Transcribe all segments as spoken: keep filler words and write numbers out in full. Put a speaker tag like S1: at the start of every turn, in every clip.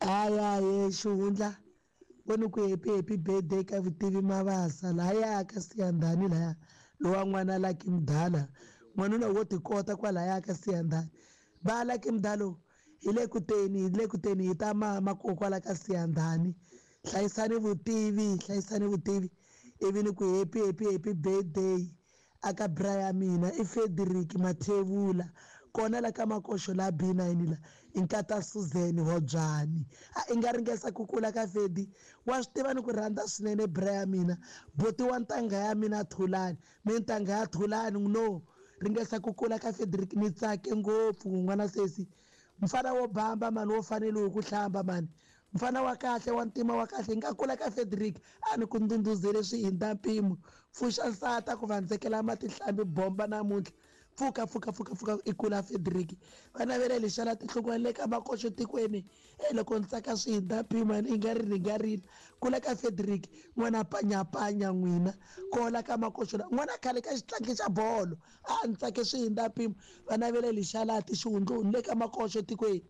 S1: Aya ye xihundla voni ku happy happy birthday ka Vutivi Mabasa lahaya ka Siyandhani laya lowa n'wana Lucky Mdala n'wanuna wo tikota kwalaya ka Siyandhani va Lucky Mdalo hi le ku teni hi le ku teni hi ta mama kokwala ka Siyandhani hlayisani vutivi hlayisani vutivi ivi ni ku happy happy happy birthday aka bra ya mina i Frederick Mathebula kona la ka Makoxo la B nine la i nkata Suzan Hobyani a i nga ringesa ku kula ka Fedi wa swi tiva ni ku rhandza swinene bra ya mina boti wa ntangha ya mina Thulani mi ntangha ya Thulani no ringesa ku kula ka Frederick ni tsake ngopfu n'wana sesi mfana wo bamba mani wo fanele ku hlamba mani mfana wa kahle wa ntima wa kahle nga kula ka Frederick a ni ku ndhundhuzele swi hindza mpimo pfuxa nsata ku vandzekela matihlambi bomba namuntlha pfuka pfuka pfuka pfuka i kula Frederick va navela lexala tinhlokweni le ka Makoxo tikweni e loko ni tsaka swi hindza mpimo i nga ri ni nga rila kula ka Frederick n'wana panyapanya n'wina kola ka Makoxo n'wana khale ka xitlangi xa bolo a ni tsake swi hindza mpimo va navela lexala ti xihundluni le ka Makoxo tikweni.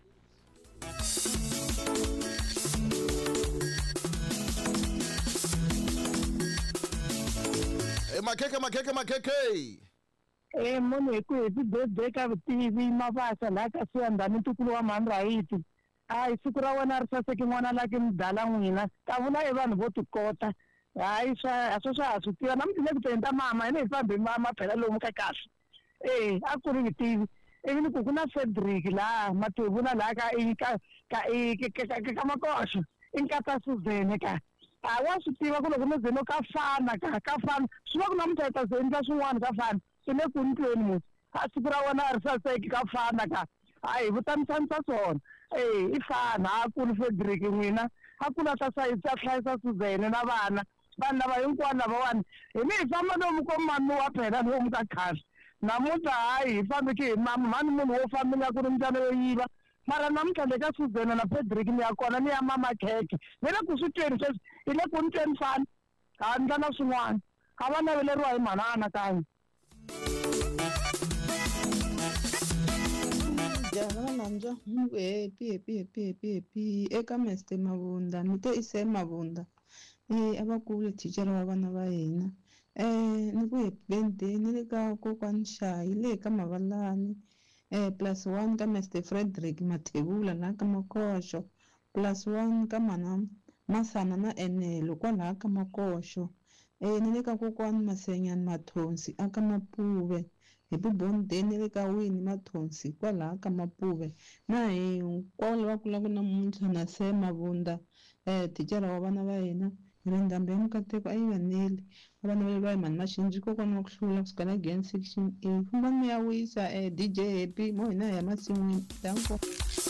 S2: Makhekhe makhekhe makhekhe
S3: eh munhu hi ku happy birthday ka Vutivi Mabasa laha ka Siyandhani ntukulu wa mhani Rahiti hayi siku ra wena ri saseke n'wana Lucky Mdala n'wina ka vula i vanhu vo tikota hayi swa swa swa ha swi tiva namuntlha le ku teni ta mama hina hi fambe mama phela lomu ka kahle eh a ku ri Vutivi ivi ni ku ku na Frederick laha Mathebula laha ka ka ka ka ka Makoxo i nkata Suzan ka a wa swi tiva ku loko no ze no ka fana ka ka fana swi va ku namuntlha hi ta ze endla swin'wana ka fana i le ku ntweni musi a siku ra wena a ri saseki ka fana ka hayi vutanisanisa swona e i fana a kuli Frederick n'wina a kula ta ta hlayisa Suzan na vana vanhu lava hinkwavo lavawani hi ni hi famba lomu ko mamiwa phela lomu ka khale namuntlha hayi hi fambeke hi mama mhani munhu wo famba nga ku ri mbyana yo yiva mara namuntlha le ka Suzan na Frederick ni ya kona ni ya mama khekhe ni le ku swi tweni sweswi hi le ku ni tweni fana ha ndla na swin'wana a va naveleriwa hi mhana anakanyi.
S4: Jaha namja mungu happy happy happy happy happy eka Mister Mabunda ni te ise Mabunda eh abakulu thichara wa vana va hina eh ni ku happy birthday ni le ka kokwani Shayi le ka Mavalani eh plus one ka Mister Frederick Mathebula la ka Makoxo plus one ka mana Masana na Enelo kwalaha ka Makoxo eh ni le ka kokwani Masenyani Mathonsi aka Mapuve happy birthday ni le ka Winnie Mathonsi kwalaha ka Mapuve na hinkwavo lava kulaka namuntlha na se Mabunda eh thichara wa vana va hina hi ri ndhambi ya mikateko a yi vaneli va vana va hi mhani Maxinji kokwana wa ku hlula kusuka la Gain section A fambani mi ya wisa eh D J Happy mo hina hi ya masin'wini danko.